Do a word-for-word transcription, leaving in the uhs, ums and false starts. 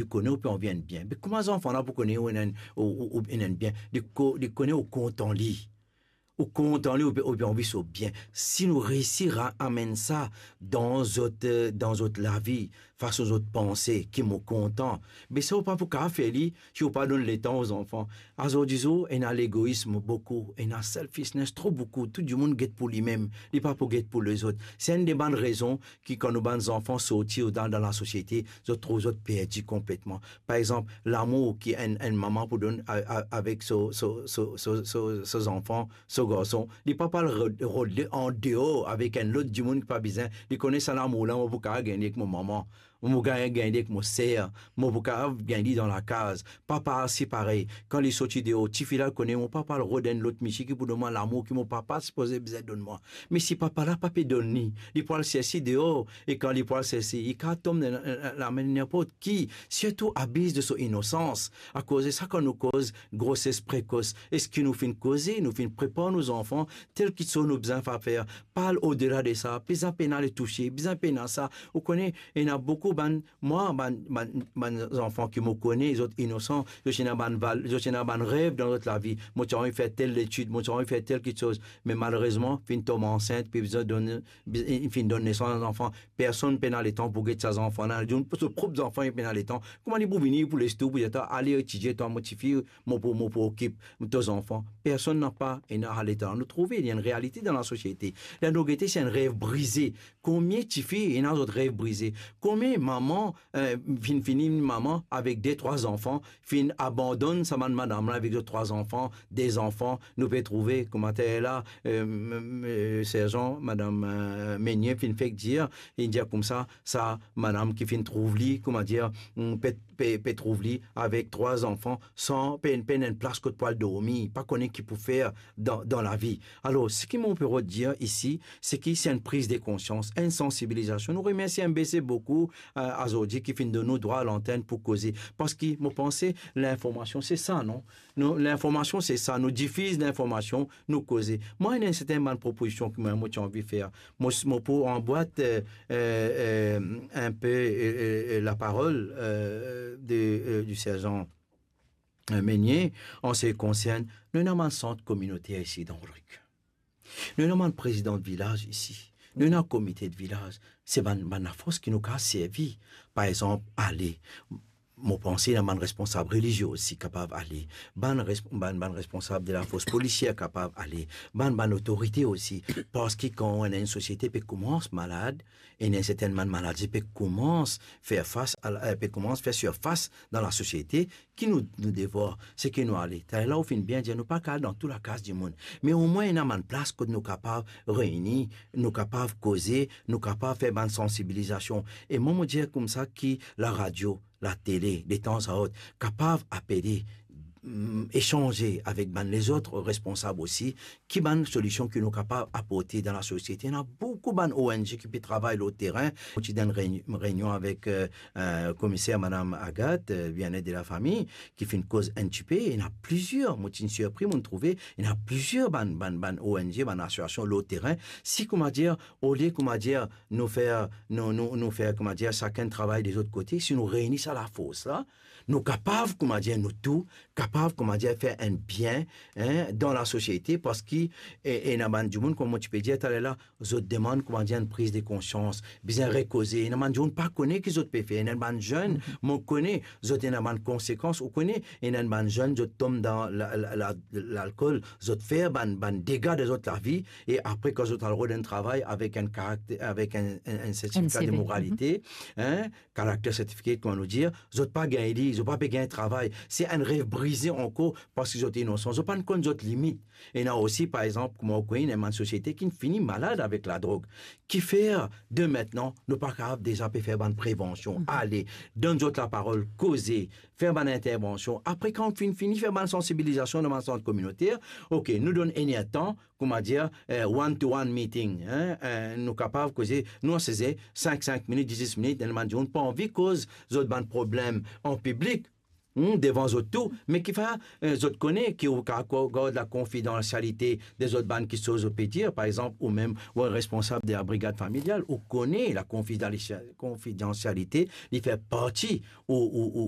Li kone ou pe anvi enn bien. Me kouma zanfan la pou kone ou ena enn, ou, ou, ou ena enn bien? Li ko-, li kone ou kontan li. Ou kontan li, ou pe, ou pe anvi so bien. Si nou reisi ra-, amenn sa dan zot, eh, dan zot lavi, fason zot panse, ki mo kontan, be sa ou pa pou kapav fer li si ou pa donn letan ou zanfan. Azordi zour, ena legoism boukou, ena selfishness tro boukou, tou dimoun get pou limem, li pa pou get pou lezot. Se enn de bann rezon ki kan nou bann zanfan sorti dan, dan lasosiete, zot trouv zot perdi konpletman. Par exanp, lamour ki enn, enn mama pou donn a, a, avek so, so, so, so, so, so zanfan, so garson, li pa pou al rod, rod li andeor avek enn lot dimoun ki pa bizin. Li kone sa lamour la, mo pou kapav gagn li ek mo mama, mo pou kapav gagn li ek mo ser, mo pou kapav gagn li dan lakaz. Papa osi parey, kan li sorti deor, tifi la kone mo papa al rod enn lot misie ki pou donn mwa lamour ki mo papa sipoze bizin donn mwa. Me si papa la pa pe donn li, li pou al serse deor, e kan li pou al serse, li kapav tom dan la, la, lame ninport ki, sirtou abiz de so inosans. Akoz de sa, kan nou koz groses prekos, eski nou finn koze, nou finn prepar nou zanfan, tel ki so nou bizin fa-, fer, pa al odela de sa, bizin pena le touse, bizin pena sa. Ou kone, ena boukou bann, mwa, bann, bann, bann zanfan ki mo kone, zot inosan, zot ena bann val-, zot ena bann rev dan zot lavi. Mo ti anvi fer tel letid, mo ti anvi fer tel kitsoz, me malerezman, finn tom ansint, pe bizin donn, bizin, finn donn nesans zanfan. Personn pena letan pou get sa zanfan la. Li, so prop zanfan, li pena letan. Kouma li pou vini, pou les tou, pou dir, "Ale etidie twa, mo tifi, mo pou, mo pou okip to zanfan." Personn napa ena letan. Nou trouve, li enn realite dan lasosiete. Ler nou gete, se enn rev brize. Konbien tifi ena zot rev brize? Konbien mama, eh, finn fini mama avek de, trwa zanfan, finn abandonn sa bann madam la avek zot trwa zanfan, de zanfan, nou pe trouve, kouma tel la, eh, m-, m-, eh, serzan, madam, eh, Meunier finn fek dir, li dir koumsa, sa madam ki finn trouv li, kouma dir, mm, pe, pe, pe trouv li avek trwa zanfan, san, pe, pena enn plas kot pou al dormi, pa kone ki pou fer dan, dan lavi. Alor, seki mo pe rod dir isi, se ki se enn priz de konsians, enn sansibilizasion. Nou remersie M B C boukou, eh, azordi ki finn donn nou drwa lantenn pou koze. Parski mo panse linformasion se sa, non? Nou, linformasion se sa, nou difiz linformasion, nou koze. Mwa, ena sertin bann propozision ki mwa, mo ti anvi fer. Mo, mo pou anbwat, eh, eh, eh, enpe, eh, eh, eh, laparol, eh, de, eh, di serzan, eh, Meunier, an se ki konsern, nou ena bann sant kominoter isi dan Rodrig. Nou ena bann prezidan de vilaz isi. Nou ena komite de vilaz. Se bann, bann lafors ki nou kapav servi. Par exanp, ale, mo panse ena bann responsab relizie osi kapav ale. Bann res-, bann, bann responsab de lafors polisier kapav ale. Bann, bann otorite osi. Parski kan ena enn sosiete pe koumans malad, ena enn sertin bann maladi pe koumans fer fas a la, eh, pe koumans fer sirfas dan lasosiete, ki nou, nou devwar, se ki nou ale. Taler la ou finn bien dir, nou pa kapav al dan tou lakaz dimoun. Me omwin ena bann plas kot nou kapav reyni, nou kapav koze, nou kapav fer bann sansibilizasion. E mwa, mo dir koumsa ki laradio, latele, detanzaot, kapav apele, mm, esanze avek bann lezot responsab osi, ki bann solision ki nou kapav aporte dan lasosiete. Ena boukou bann O N G ki pe travay lor terin. Mo ti dan enn reyni-, reynion avek, eh, eh, komiser madam Agathe, eh, Bien-être de la Famille, ki finn koz enn tipe. Ena plizier, mo ti sirpri, mo trouve, ena plizier bann, bann, bann O N G, bann asosiasion lor terin. Si, kouma dir, olie, kouma dir, nou fer, nou, nou, nou fer, kouma dir, sakenn travay de zot kote, si nou reyni sa lafors la, nou kapav, kouma dir, nou tou, kapav, kouma dir, fer enn bien, hein, dan lasosiete, parski, e, ena bann dimoun, kouma mo ti pe dir taler la, zot demann, kouma dir, enn priz de konsians, bizin rekoze. Ena bann dimoun pa kone ki zot pe fer. Ena bann zenn, mo kone, zot ena bann konsekans, ou kone, ena bann zenn, zot tom dan la, la, la, lalkol, zot fer bann, bann dega dan zot lavi, e apre, kan zot al rod enn travay avek enn karakter, avek enn, enn, enn sertifika de moralite, hein, character certificate, kouma nou dir, zot pa gagn li, zot pa pe gagn travay. Se enn rev brize ankor parski zot inosan. Zot pa konn zot limit. Ena osi, par exanp, kouma ou kone, ena bann sosiete ki fini malad avek ladrog. Kifer de mintnan, nou pa kapav deza pe fer bann prevansion? Ale, donn zot laparol, koze, fer bann intervansion. Apre, kan ou finn fini fer bann sansibilizasion dan bann sant kominoter, ok, nou donn enn er tan, kouma dir, eh, one-to-one meeting, hein, eh, nou kapav koze, nou asize sink, sink minit, dis, dis minit, ena bann dimoun pa anvi koz zot bann problem an piblik. Hmm, devan zot tou, me kifer, eh, zot kone ki ou kapav gard lakonfidansialite de zot bann kiksoz zot pe dir, par exanp, ou mem ou enn responsab de labrigad familial, ou kone lakonfidansia-, konfidansialite, li fer parti ou, ou, ou,